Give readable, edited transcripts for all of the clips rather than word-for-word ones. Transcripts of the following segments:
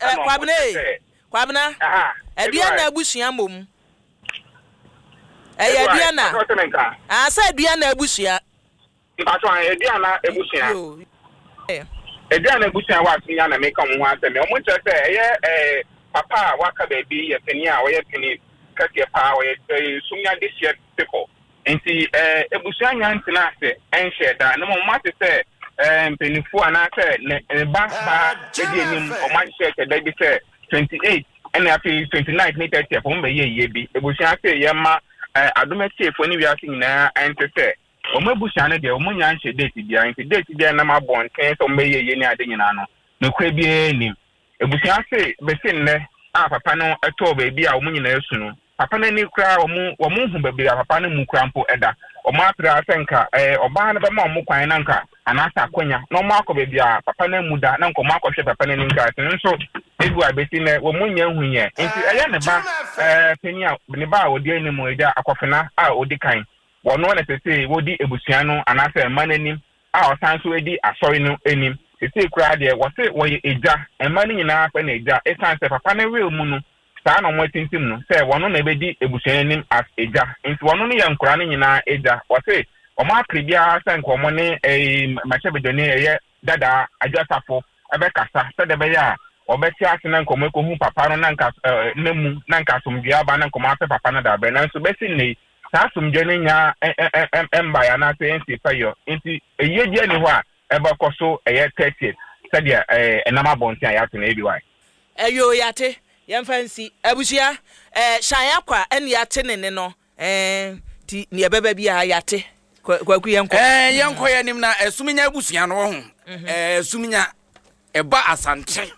Ɛna wɔn Kwabena kyerɛ ei, sɛ Kwabena, aha, Aduana ABY, abusua mmom. Ɛyɛ ABY, Aduana. mpakyɛ wote me nka? Ah, sɛ Aduana abusua. Mpakyɛ ahe, Aduana abusua. Yo. Aduana abusua wɔ Asenya na meka wɔn ho asɛm yi. Wɔn kyerɛ sɛ ɛyɛ eh, papa a waka baabi yɛ panin a ɔyɛ panin kɛseɛ paa, ɔyɛ eh, Sumya dehyeɛ bepɔ. Nti eh, abusua nya ntena ase nhyɛɛ da, na mmom wɔate sɛ eh, mpanimfoɔ anaasɛ ne, ne ba baa di anim, wɔn ahyehyɛ hyɛ da bi sɛ 28 ɛna afei 29 ne 30 wɔn bɛyɛ yie bi. Abusua se yɛma eh, adom atiefoɔ ne wiase nyinaa ɛnte sɛ wɔn abusua no deɛ wɔn nya nhyɛ date biara, nti date biara nam abɔnten sɛ wɔn bɛyɛ yie ne ade nyinaa no, nokorɛ biara nnim. Abusua se besi nnɛ a papa no tɔɔ baabi a wɔn nyinaa su no, papa no ani koraa wɔn wɔn nhu baabi a papa no mu koraa mpo da. Wɔn apere ara sɛ nka ɛɛ ɔbaa no bɛma wɔn kwan na nka anaasɛ akwanya na wɔn akɔ baabi a papa no amu da na nka wɔn akɔhwɛ papa no anim koraa sɛ nso ebi a besi nnɛ wɔn nnya nhu yɛ. Nti ɛyɛ ne ba ɛɛ panyin a ne ba a ɔdi anim agya Akɔfena a ɔdi kan wɔn na sesei wɔdi abusua no anaasɛ mma no anim a ɔsan nso di asɔre no anim. Seesei koraa deɛ, wɔse wɔyɛ agya, mma no nyinaa frɛ no agya, esiane sɛ papa no will mu no, saa na wɔatintim no, sɛ wɔno na ɛbɛdi abusua no anim as agya. Nti wɔno no yɛ nkwadaa no nyinaa agya. Wɔse wɔn apere biara sɛ nka wɔn ne ɛyi mmarahyɛbadwani ɛyɛ Dadaa Adwo Asafo ɛbɛkasa sɛdeɛ ɛbɛyɛ a wɔbɛte ase na nka wɔn akɔhu papa no na nka ɛɛ na mu na nka asomdwoeɛ aba na nka wɔn apɛ papa no dabrɛ. Nanso bɛsi nnɛ yi, saa asomdwoeɛ no nnya mbaeɛ anaasɛ ɛnsii pɛyɔ nti ayie biara nni hɔ a ɛbɛkɔ so ɛyɛ 30th sɛdeɛ ɛnam abɔnten a yɛato no ABY. Ɛyoo yɛate, yɛmfa nsi. Abusua, eh, Shan Akwa ɛne yɛate ne nne no, eh, nti neɛ ɛbɛba biara yɛate. Kwaku yɛnkɔ. Eh, yɛnkɔ yɛn anim na Asuminya abusua no wɔ ho. Eh, Asuminya, ɛba Asante,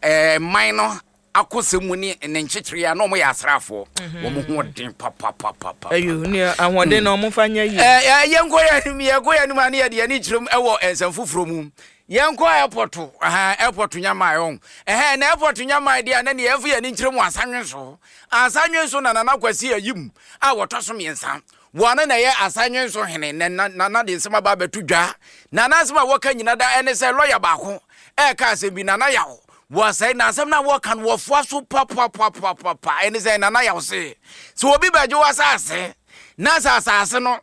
eh, man no akosɛm mu ne ne nkyekyereɛ a na wɔyɛ asraafoɔ mhm. wɔn ho ɔden papapapapa. Ayo ne ahoɔden na wɔn fa nyɛ yie. Ɛɛ yɛnkɔ yɛn anim yɛnkɔ yɛn anim a ne yɛde yɛn ani kyerɛm ɛwɔ nsɛm foforɔ mu yɛnkɔ airport ɛhɛn airport nyamaa ɛhɔn ɛhɛn na airport nyamaa deɛ a na ne yɛnfo yɛn ani nkyerɛ mu asanwe so asanwe so na Nana Kwasi Ayim a wɔtɔ so mmiɛnsa Wɔn na ɛyɛ Asanwenso hene na Nana de nsɛm aba abɛto dwa. Nana asɛm a wɔka nyina da ɛne sɛ lɔya baako ɛreka asɛm bi Nana Yaw wɔsɛe na asɛm no a wɔka no wɔfoa so papapapaapa ɛne sɛ Nana Yaw se sɛ obi bɛgye w'asase na sɛ asase no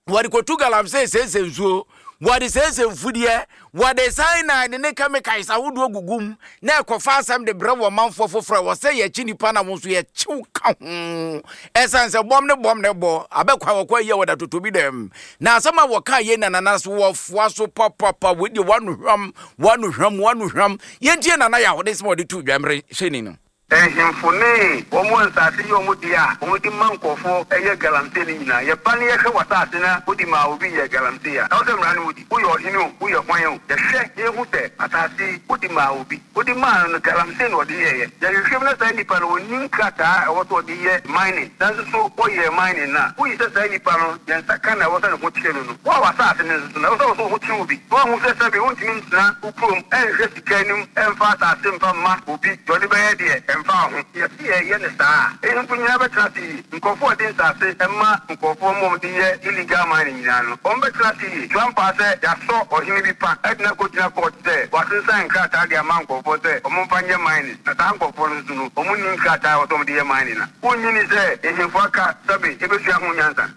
wɔde kɔtu galamsey sɛsɛ nsuo wɔde sɛsɛ mfudeɛ Wɔde cyanide ne chemicals ahodoɔ gugu mu na ɛkɔfa asɛm de brɛ wɔ manfoɔ foforɔ a ɛwɔ sɛ yɛkye nipa na wɔn nso yɛkyew ka ho. Ɛsiane sɛ bɔm ne bɔm na ɛbɔ abɛkwan wɔkɔ ayi a wɔda totobi dɛm. Na asɛm a wɔka yei na nana so wɔfoa so papapa wei deɛ wano hwam wano hwam wano hwam. Yɛntie nana yaw ne nsɛm a ɔde too dwa mmere hyɛni no. Nhemfo ne wɔn a nsase yɛ wɔn dea a wɔde ma nkurɔfoɔ yɛ galamsey no nyinaa, yɛba na yɛhwɛ w'asase na wode maa obi yɛɛ galamsey a, ɛwɔ sɛ mmara no wodi. Woyɛ ɔhene o, woyɛ hwan o, yɛhwɛ na yɛhu sɛ asase yi wode maa obi. Wode maa no no, galamsey na ɔde yɛeɛ. Yɛhwehwɛ mu na saa nipa no ɔnni nkrataa a ɛwɔ sɛ ɔde yɛ mining, nanso so ɔyɛɛ mining no a, woyi sɛ saa nipa no yɛn nsa ka na ɛwɔ sɛ ne ho kyere no no. Wo a w'asase no nso so no, ɛwɔ sɛ wo nso wo ho kyere wo bi na woahu sɛ sɛbe wontumi ntena wo kurom nhwɛ sika anim mfa asase mfa mma obi, deɛ ɔde bɛyɛ deɛ, ɛmfa wo ho. Yɛse yɛyɛ no saa a, nhemfo nyinaa bɛtena ase yie. Nkurɔfoɔ a wɔde nsase ma nkurɔfoɔ ma wɔde yɛ illegal mining nyinaa no, wɔbɛtena ase yie. So ampa ara sɛ yɛasɔ ɔhene bi pa de no akɔgyina court sɛ wasensan nkrataa de ama nkurɔfoɔ sɛ wɔmfa nyɛ mining, na saa nkurɔfoɔ no nso no, wɔnni nkrataa a ɛwɔ sɛ wɔde yɛ mining a? Wonnye nni sɛ nhemfo aka sɛbe ɛbɛsua ho nyansa?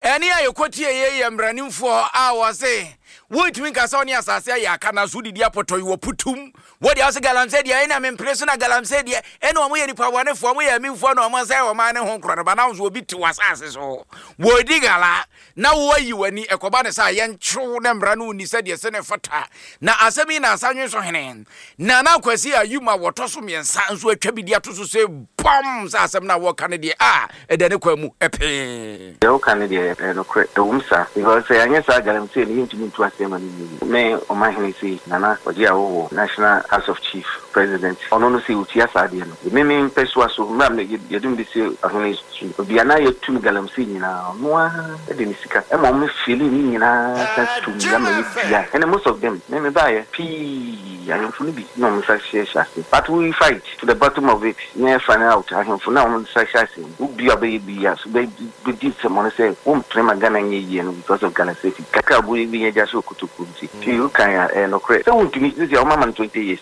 Ɛnne a yɛkɔtieeɛ yi yɛ mmaranimfoɔ a wɔse wontumi nka sɛ wo ne asase ayɛ aka nanso wodidi apɔtɔyi wɔ putum. Wo deɛ wose galamsey deɛ ɛna mempene so na galamsey deɛ ɛna wɔn yɛ nipa bɔnefoɔ wɔn yɛ amimfoɔ na wɔn sɛe ɔman ne ho korɔ no ba na nso obi te w'asase so wɔredi gala na woayi w'ani ɛkɔba ne sɛ yɛnkyew na mmara no nni sɛdeɛ sɛ ne fata na asɛm yi na asanwe so hene Nana Kwasi Ayum a wɔtɔ so mmiɛnsa nso atwa bi de ato so sɛ bam sɛ asɛm no a wɔka no deɛ a ɛda ne kwan mu pee. Deɛ woka no deɛ ɛyɛ nokorɛ, ɛwom saa, because sɛ anyɛ saa galamsey no yɛntumi ntu aseɛ ma no nyɛ yie. Me ɔmanhene sei, Nana Ɔgye Awowo, National House of Chief President, ɔno no sei ɔtua saa adeɛ no. Me me mpɛsoa so, mmerɛ a yɛde me bɛsi ɔhene so yi, baabi a na yɛtu no galamsey nyinaa, ɔno ara de ne sika ma wɔn fiili ne nyinaa san tu nnua ma yɛduae. Ɛnɛ most of them, me mebaeɛ pii, ahemfo no bi na wɔn nsa hyehyɛ ase, but we fight to the bottom of it. Nyɛ find out ahemfo no a wɔn nsa hyɛ ase no, wo bi a ɔbɛyɛ bi a so bɛ bɛdi nsɛmɔne sɛ wo mpene ma Ghana nyɛ yie no because of Ghana safety kakra a wobɛnya gya hyɛ wo kotokuo nti. Nti wo kan a ɛyɛ nokorɛ sɛ wo ntumi sisi a wɔn ama no 20 years.